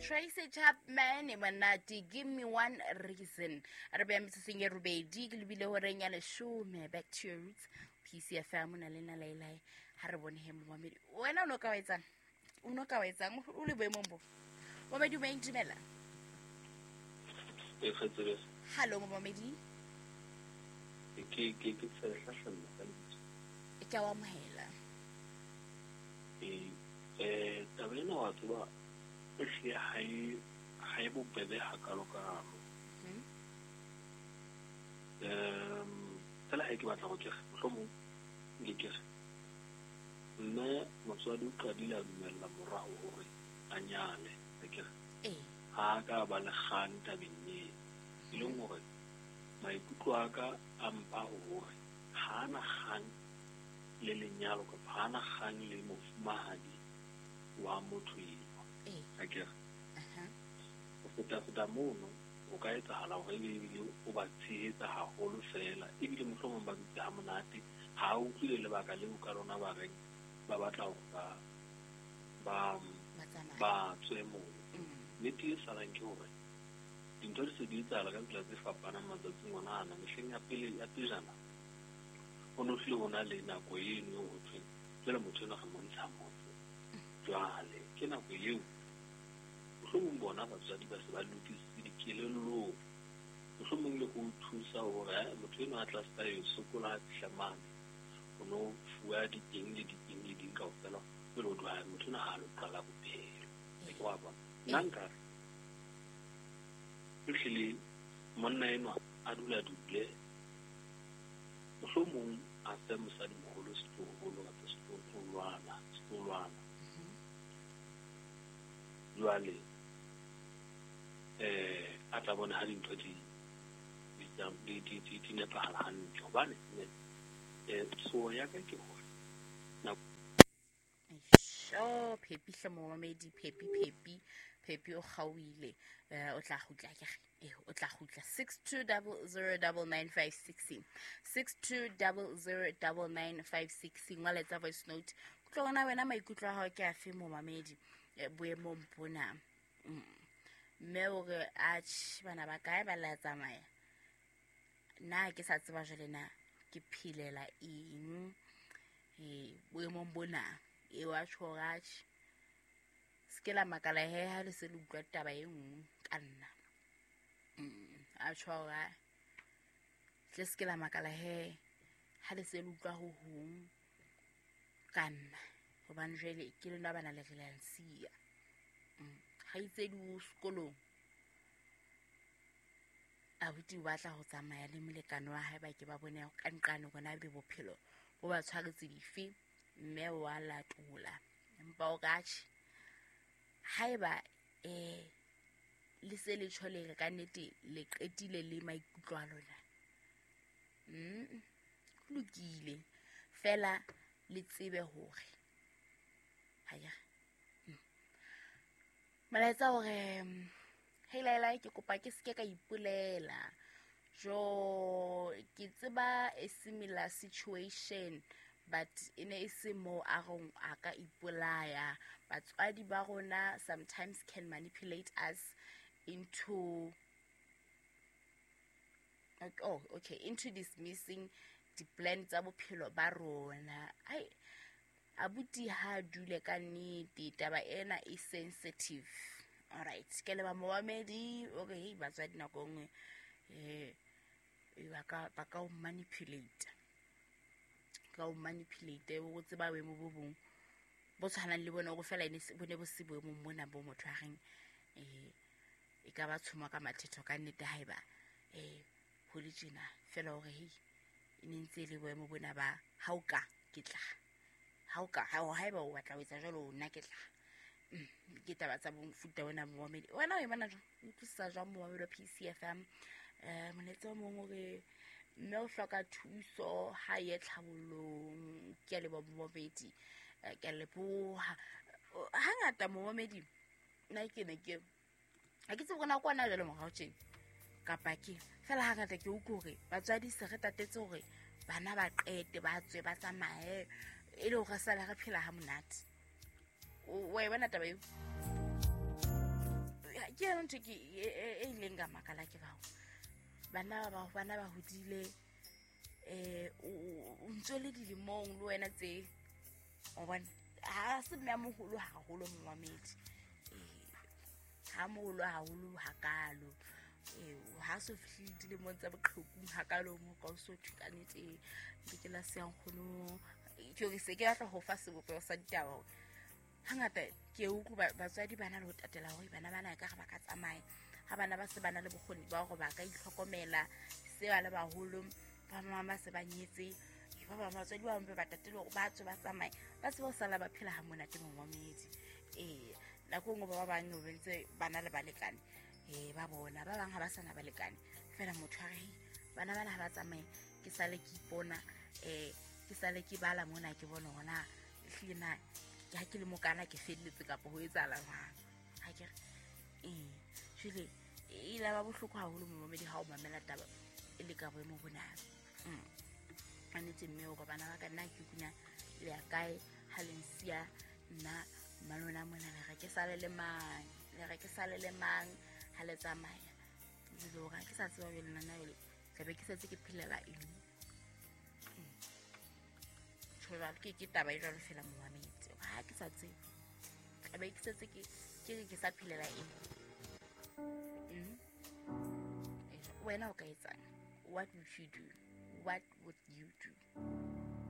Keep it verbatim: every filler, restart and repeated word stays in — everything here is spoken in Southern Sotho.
Tracy Chapman monate, "Give Me One Reason". Re beya metsotsong e robedi ke lebile horeng ya leshome. Back to Your Roots, P C F M, o na le nna Laelae. Ha re bone he, momamedi, wena o no ka wa etsang? O no ka wa etsang o le boemong bo? Momamedi o moyeng, dumela. E kgetsebe. Hallo, momamedi. Ke ke ke Tshehla hlalla ka lebitso. Ke a o amohela. Ee, eh taba ena wa tseba ehlile ha e ha e bobebe hakalo-kalo. Hmm? um fela ha ke batla go ke re mohlomong nke ke re mme motswadi o qadile a dumella morao hore a nyale akere? Ee. Ha a ka ba le kgang tabeng eo, e leng hore maikutlo a ka a mpa hore ha ana kgang le lenyalo kapa ha ana kgang le mofumahadi wa motho eo. Ee akere? Aha. Ho feta-feta mono, ho ka etsahala hore ebe ebile o ba tshehetsa haholo fela, ebile mohlomong ba dutse ha monate, ha a utlwile lebaka leo ka lona ba reng ba batla hore ba ba ba tsamaya. Ba tswe moo. Mm. Nnete e salang ke hore dintho di se di etsahala ka tsela tse fapanang matsatsing ona ana. Mehleng ya pele ya pejana ho no hlile ho na le nako eno eo ho thweng jwale motho enwa re mo ntsha motse. Jwale ke nako eo mohlomong bona batswadi ba se ba lokisitse dikelellong, mohlomong le ho thusa hore eh, motho enwa a tla se ka yo sokola ha fihla mane, o no fuwa di-eng le di-eng le ding kaofela pele o tloha. Motho enwa ha a lo qala bophelo. Ke wa bona, nna nkare ehlile monna enwa a dula dule, mohlomong a fe mosadimoholo setloholo kapa setloholwana setloholwana Mhm. Jwale eh a tla bona ha dintho di di di di di di nepahala hantle, hobane eh tsoho ya ka ke hore nako Sho, Phepi hle, momamedi Phepi, Phepi, Phepi o kgaohile. eh o tla kgutla ke re eh o tla kgutla. Six two double zero double nine five six, six two double zero double nine five six. Ngwaletsa voice note tlo bona wena maikutlo a hao ke afe, momamedi, eh, boemong bona. Mm. mme o re atjhe, bana ba kae ba la tsamaya, nna ke sa tseba jwale na ke phelela eng eh boemong bona. E wa tjho hore atjhe, se ke la makala he ha le se le utlwa taba e nngwe ka nna. Mm, a tjho hore a tle se ke la makala he ha le se le utlwa ho hong ka nna, hobane jwale ke lona bana le re la nsiya. Mm, kgaitsedi o sekolong, abuti o batla ho tsamaya le molekane wa hae, ba ke ba bone ka nqane hore na ebe bophelo bo ba tshwaretse dife. Mme wa latola, empa o ka tjhe, haeba eh le se le tjho le re ka nnete le qetile le maikutlo a lona, mm ho lokile, fela le tsebe hore haya mm. molaetsa hore mm, hei Laelae, ke kopa ke seke ka ipolela jo, ke tseba a similar situation, but e ne e se mo a reng a ka ipolaya. Batswadi ba rona sometimes can manipulate us into, oh okay, into dismissing di-plan tsa bophelo ba rona. Ai abuti, ha dule ka nnete, taba ena e sensitive. Alright, ke leba momamedi o re hei, batswadi nako nngwe um ba ka ba ka o manipulate, ka o manipulate o tseba boemo bo bong bo tshwanang le bona, o fela ene bo ne bo se boemong bona bo motho a reng um e ka ba tshoma ka mathetho ka nnete. Haeba um ho le tjena fela hore hei, e ne ntse e le boemo bona ba ha o ka ke tla ha o ka haeba o batla ho etsa jwalo, nna ke tla. Mm, ke taba tsa mofuta ona. Momamedi, wena o e bona jwang? O utlwisisa jwang, momamedi wa P C F M? um molaetsa o mong o re mme o hloka thuso ha ye tlhabollong. Ke a leboha, momamedi. Eh, ke a leboha. Hangata, momamedi, nna ke ne ke ha ke tsebe hore na kwana jwale morao tjena kapa ke fela hangata ke utlwe hore batswadi se re tatetse hore bana ba qete ba tswe ba tsamaye, e le hore re sale re phela ha monate. O wa e bona taba eo? Ke yona ntho ke e ileng ka makala ke bao bana ba bana ba hodile eh o ntse le dilemong le wena tse o bona ha se mme a moholo haholo momamedi eh ha moholo haholo hakalo eh ha so fihlile dilemong tsa boqhekung hakalo mo ka o so thuka nnete ke ke la se nkgono ke re se ke batla ho fa sebopeho sa ditaba. Hangata ke utlwa batswadi bana le ho tatela hore bana bana ka re ba ka tsamaya ha bana ba se bana le bokgoni ba hore ba ka itlhokomela se ba le baholo ba mama se ba nyetse ba ba batswadi ba mpe ba tatele hore ba tswe ba tsamaye ba tsebe ho sala ba phela ha monate momamedi. Eh nako nngwe ba bang ba ntse bana le balekane eh ba bona ba bang ha ba sana balekane fela motho a re bana bana ha ba tsamaye ke sale ke ipona eh ke sale ke bala mona ke bona hona ehlile na ha ke le mokana ke felletse kapa ho etsahala jwang ha ke re eh jwale e la ba bohloko haholo momamedi ha o mamela taba e le ka boemo bona. A nnete mme o ka bana ba ka nna ke kuna le ya kae ha le nsiya nna malona mona le re ke sale le mang le re ke sale le mang ha le tsamaya jwale hore ha ke sa tseba jwale nna jwale tlabe ke setse ke phelela eng. Jwale ke ke taba e jwalo fela momamedi ha ke sa tsebe tlabe ke setse ke ke re ke sa phelela eng. Wena o ka etsang? What would you do? What would you do?